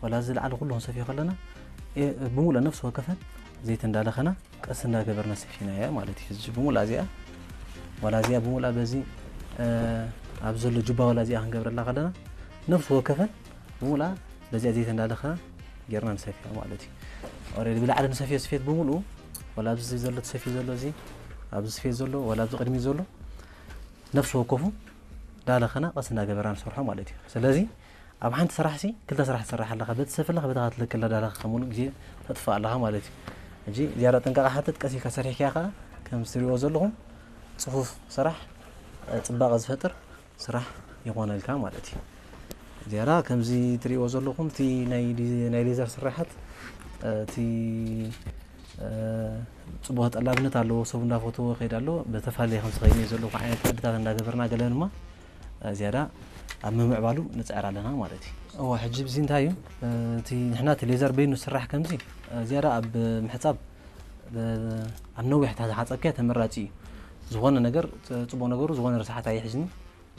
ዋላ እዚ ላዕሊ ኩሉ ክንሰፍዮ ከለና፣ እ፣ ብሙሉእ ነፍሲ ወከፈን ዘይተንዳለኸና ቀስ እንዳገበርና ሰፊና እያ ማለት እዩ። ሕጂ ብሙሉእ እዚኣ፣ ዋላ እዚኣ ብሙሉእ በዚ፣ እ፣ ኣብ ዘሎ ጁባ ዋላ እዚኣ ክንገብረላ ከለና፣ ነፍሲ ወከፈን ብሙሉእ በዚኣ ዘይተንዳለኸና ጌርና ንሰፍያ ማለት እዩ። ኦሬዲ ብላዕሊ ንሰፍዮ ስፌት ብሙሉእ፣ ዋላ ኣብዚ ዘሎ ተሰፍዩ ዘሎ፣ እዚ ኣብዚ ስፌት ዘሎ፣ ዋላ ኣብዚ ቅድሚ ዘሎ፣ ነፍሲ ወከፉ እንዳለኸና ቀስ እንዳገበርና ንሰርሖ ማለት እዩ። ስለዚ ኣብ ሓንቲ ስራሕ ሲ ክልተ ስራሕ ትሰርሕ ኣለኻ፣ በቲ ሰፍ ኣለኻ፣ በቲ ክትልክል እንዳለኻ ሙሉእ ግዜ ተጥፍእ ኣለኻ ማለት እዩ። ሕጂ ዝያዳ ጥንቃቐ ሓትት፣ ቀስ ኢልካ ሰሪሕካ ከኣ ከምዚ ትሪእዎ ዘለኹም ጽፉፍ ስራሕ፣ እ፣ ጽባቐ ዝፈጥር ስራሕ ይኾነልካ ማለት እዩ። ዝያዳ ከምዚ ትሪእዎ ዘለኹም እቲ ናይ ዲ-፣ ናይ ሌዘር ስራሓት፣ እ፣ እቲ፣ እ፣ ጽቡቕ ተጠላብነት ኣለዎ፣ ሰብ እንዳፈትዎ ይኸይድ ኣሎ። በተፈላለየ ከምዚ ኸይኑ እዩ ዘለኹ ዓይነት ቅድታት እንዳገበርና ገለ ድማ፣ እ፣ ዝያዳ ኣብ ምምዕባሉ ንጽዕር ኣለና ማለት እዩ። እወ፣ ሕጂ ብዚ እንታይ እዩ፣ እ፣ እቲ ንሕና እቲ ሌዘር በይኑ ዝስራሕ ከምዚ፣ እ፣ ዝያዳ ኣብ ምሕጻብ፣ እ፣ ኣብ ነዊሕ እንተ ዝሓጸብካዮ ተመራጺ እዩ። ዝኾነ ነገር፣ እ፣ ጽቡቕ ነገሩ ዝኾነ ርስሓት ኣይሕዝን እዩ።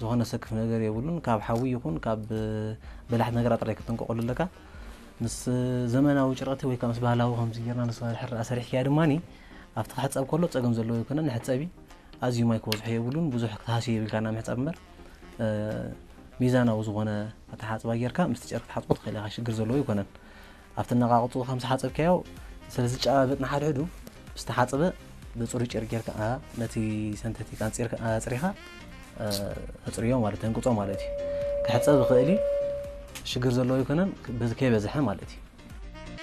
ዝኾነ ሰክፍ ነገር የብሉን። ካብ ሓዊ ይኹን ካብ በላሕቲ ነገራት ጥራይ ክትጥንቀቐሉ ኣለካ። ምስ ዘመናዊ ጨርቅቲ ወይ ከዓ ምስ ባህላዊ ከምዚ ጌርና ንስ ድሕር ኣሰሪሕካያ ድማኒ ኣብቲ ክሕጸብ ከሎ ጸገም ዘለዎ ኣይኮነን። ንሕጸቢ ኣዝዩ ማይ ክበዝሖ የብሉን። ብዙሕ ክትሃስዮ የብልካ ናብ ምሕጻብ እምበር፣ እ፣ ሚዛናዊ ዝኾነ ኣተሓጽባ ጌርካ ምስቲ ጨርቂ ክትሓጽቦ ትኽእል ኢኻ፣ ሽግር ዘለዎ ኣይኮነን። ኣብቲ ነቓቕጹ ከም ዝሓጸብካዮ ስለ ዝጨባበጥ ንሓድሕዱ፣ ዝተሓጽበ ብጽሩይ ጨርቂ ጌርካ፣ ኣ፣ ነቲ ሰንተቲክ ኣንጺርካ፣ ኣጽሪኻ፣ እ፣ ተጽርዮ ማለት፣ ተንቅጾ ማለት እዩ። ክሕጸብ ይኽእል እዩ፣ ሽግር ዘለዎ ኣይኮነን፣ በዚ ከይበዝሐ ማለት እዩ።